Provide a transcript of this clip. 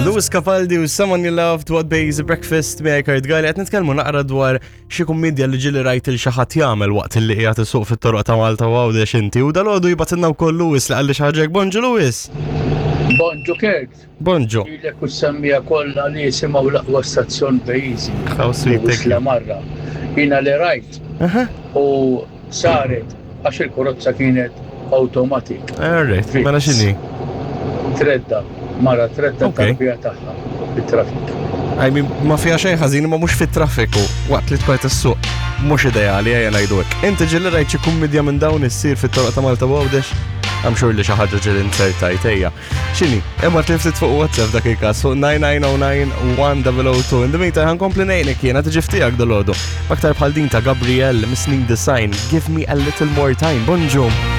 Lewis Capaldi u Someone You Loved What Bays Breakfast miegħi Kurt Gali qed nitkellmu naqra dwar xi kummedja li ġieli rajt il xi ħadd jagħmel waqt li qiegħed isuq fit-toroq ta' Malta u Għawdex inti u dalgħodu jibgħatilna wkoll Lewis li qalli xi ħaġa hekk. Bonġu Lewis! Bonġu Kurt! Bonġu! Lilek u s-semmiegħa kollha li jisimgħu l-aqwa stazzjon pajjiżi. How sweet, thank you. Lewis Lamarra. Jiena li rajt u Saret għax il-karozza kienet automatic. Alright, mela x'inhi? Tredda, mara tredda tarbija tagħha fit-traffic. I mean, ma fiha xejn ħażin imma mhux fit-traffiku waqt li tkun qed issuq. Mhux ideali ejja ngħidu hekk. Inti ġieli rajt xi kummedja minn dawn issir fit-toroq ta' Malta u Għawdex? I'm sure li xi ħaġa ġieli insertajt ejja. X'inhi? Ibgħat li ftit fuq WhatsApp dak il-każ fuq 9909-1002. In the meantime, ħankompli ngħinek jiena tiġi ftijak dal-għodu. Aktar bħal din ta' Gabriel mis-snin design, Give me a little more time. Bonġu!